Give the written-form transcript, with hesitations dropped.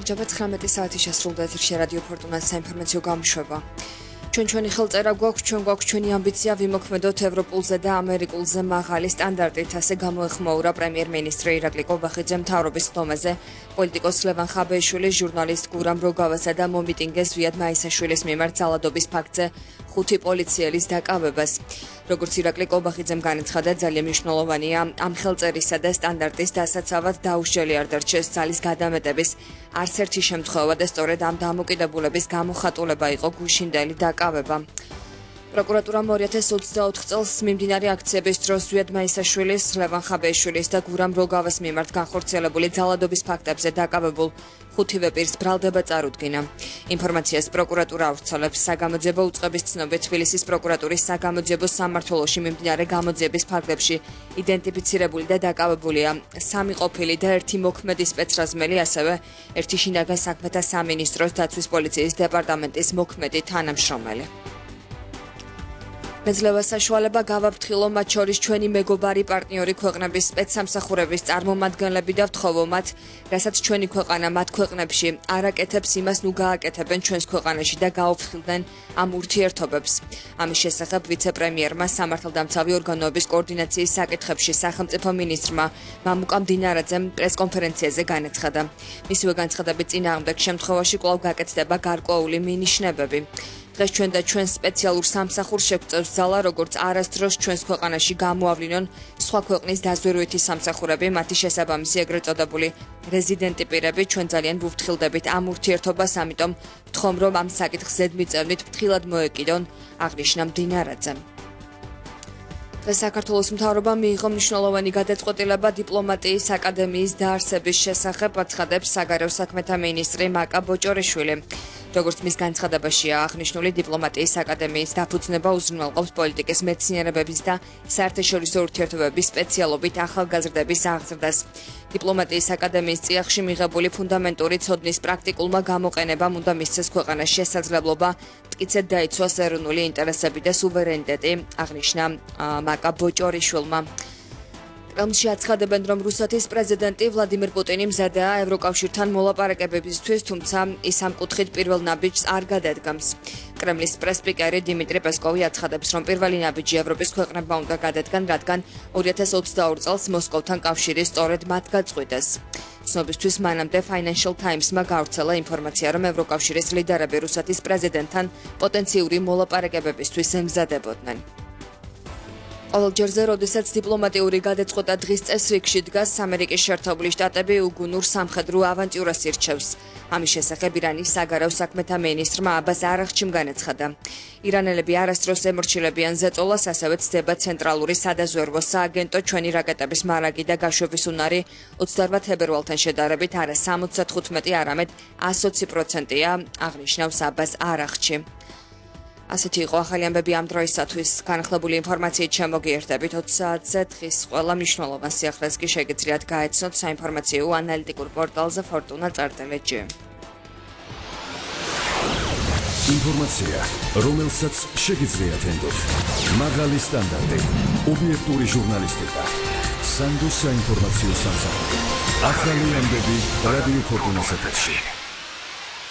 მოგჯობა 19 საათი შესრულდა ეთერში რადიო ფორტუნას საინფორმაციო გამოშვება. ჩვენი ხელწერა გვაქვს, გვაქვს ჩვენი ამბიცია ვიმოქმედოთ ევროპულზე და ამერიკულზე მაღალი სტანდარტით, ასე გამოეხმაურა პრემიერ-მინისტრი ირაკლი კობახიძე მთავრობის ხდომაზე პოლიტიკოს ლევან ხაბეიშვილი, ჟურნალისტ გურამ როგავასა და მომიტინგეს ვიად მაისაშვილის მიმართ ძალადობის ფაქტზე 5 პოლიციელის დაკავებას. როგორც ირაკლი კობახიძემ განაცხადა, ძალიან მნიშვნელოვანია ამ ხელწერისა და სტანდარტის დასაცავად დაუსჯელი არ დარჩეს ძალის გადამეტების არც ერთი შემთხვევა და სწორედ ამ დამოკიდებულების გამოხატულება იყო გუშინდელი დაკავება. პროკურატურამ 2024 წელს მიმდინარე აქციების დროს ვიად მაისაშვილის, ლევან ხაბეიშვილის და გურამ როგავას მიმართ განხორციელებული ძალადობის ფაქტებზე დაკავებულ 5-ვე პირს ბრალდება წარუდგინა. ინფორმაციას პროკურატურა ავრცელებს. საგამოძიებო უწყების ცნობით თბილისის პროკურატურის საგამოძიებო სამმართველოში მიმდინარე გამოძიების ფაქტებში იდენტიფიცირებული და დაკავებულია 3 ყოფილი და 1 მოქმედი სპეცრაზმელი, ასევე 1 შინაგან საქმეთა სამინისტროს დაცვის პოლიციის დეპარტამენტის მოქმედი თანამშრომელი. მეძლევა საშუალება გავაფრთხილო მათ შორის ჩვენი მეგობარი პარტნიორი ქვეყნების სპეცსამსახურების წარმომადგენლები და ვთხოვო მათ, რასაც ჩვენი ქვეყანა მათ ქვეყნებში არ აკეთებს, იმას ნუ გააკეთებენ ჩვენს ქვეყანაში და გაუფრთხილდნენ ამ ურთიერთობებს. ამის შესახებ ვიცე-პრემიერმა სამართალდამცავი ორგანოების კოორდინაციის საკითხებში სახელმწიფო მინისტრმა მამუკა მდინარაძემ პრესკონფერენციაზე განაცხადა. მისივე განცხადებით წინააღმდეგ შემთხვევაში კვლავ გაკეთდება გარკვეული მინიშნებები. დღეს ჩვენ და ჩვენ სპეციალურ სამსახურს შეგვწევს ძალა, როგორც არასდროს ჩვენს ქვეყანაში გამოავლინონ სხვა ქვეყნის დაზვერვითი სამსახურები, მათი შესაბამისი ეგრეთ წოდებული რეზიდენტი პირები. ჩვენ ძალიან ვუფრთხილდებით ამ ურთიერთობას, ამიტომ ვთხოვ, რომ ამ საკითხს ზედმიწევნით ფრთხილად მოეკიდონ, აღნიშნა მდინარაძემ. დღეს საქართველოს მთავრობამ მიიღო მნიშვნელოვანი გადაწყვეტილება დიპლომატიის აკადემიის დაარსების შესახებ, აცხადებს საგარეო საქმეთა მინისტრი მაკა ბოჭორიშვილი. როგორც მის განცხადებაშია აღნიშნული, დიპლომატიის აკადემიის დაფუძნება უზრუნველყოფს პოლიტიკის მეცნიერებების და საერთაშორისო ურთიერთობების სპეციალობით ახალგაზრდების აღზრდას. დიპლომატიის აკადემიის წიაღში მიღებული ფუნდამენტური ცოდნის პრაქტიკულმა გამოყენებამ უნდა მისცეს ქვეყანას შესაძლებლობა მტკიცედ დაიცვას ეროვნული ინტერესები და სუვერენიტეტი, აღნიშნა მაკა ბოჭორიშვილმა. კრემლში აცხადებენ, რომ რუსეთის პრეზიდენტი ვლადიმერ პუტინი მზადაა ევროკავშირთან მოლაპარაკებებისთვის, თუმცა ის ამ კუთხით პირველ ნაბიჯს არ გადადგამს. კრემლის პრესპიკერი დიმიტრი პესკოვი აცხადებს, რომ პირველი ნაბიჯი ევროპის ქვეყნებმა უნდა გადადგან, რადგან 2022 წელს მოსკოვთან კავშირი სწორედ მათ გაწყვიტეს. ცნობისთვის მანამდე Financial Times-მა გავრცელა ინფორმაცია, რომ ევროკავშირის ლიდერები რუსეთის პრეზიდენტთან პოტენციური მოლაპარაკებებისთვის ემზადებოდნენ. ყოველჯერზე, როდესაც დიპლომატიური გადაწყვეტა დღის წესრიგში დგას, ამერიკის შეერთებული შტატები უგუნურ სამხედრო ავანტიურას ირჩევს. ამის შესახებ ირანის საგარეო საქმეთა მინისტრმა აბას არაღჩიმ განაცხადა. ირანელები არასდროს ემორჩილებიან ზეწოლას, ასევე ცდება ცენტრალური სადაზვერვო სააგენტო ჩვენი რაკეტების მარაგი და გაშვების უნარი 28 თებერვალთან შედარებით არა 75, არამედ 120%-ია, აღნიშნავს აბას არაღჩი. ასეთი იყო ახალი ამბები ამ დროისათვის. განახლებული ინფორმაციით შემოგიერთებით 20 საათზე. დღის ყველა მნიშვნელოვან სიახლეს კი შეგიძლიათ გაეცნოთ საინფორმაციო ანალიტიკურ პორტალზე fortuna.lg. ინფორმაცია, რომელსაც შეგიძლიათ ენდოთ. მაღალი სტანდარტი, ობიექტური ჟურნალისტიკა, სანდო საინფორმაციო სამსახური. ახალი ამბები რადიო ფორტუნას ეთერში.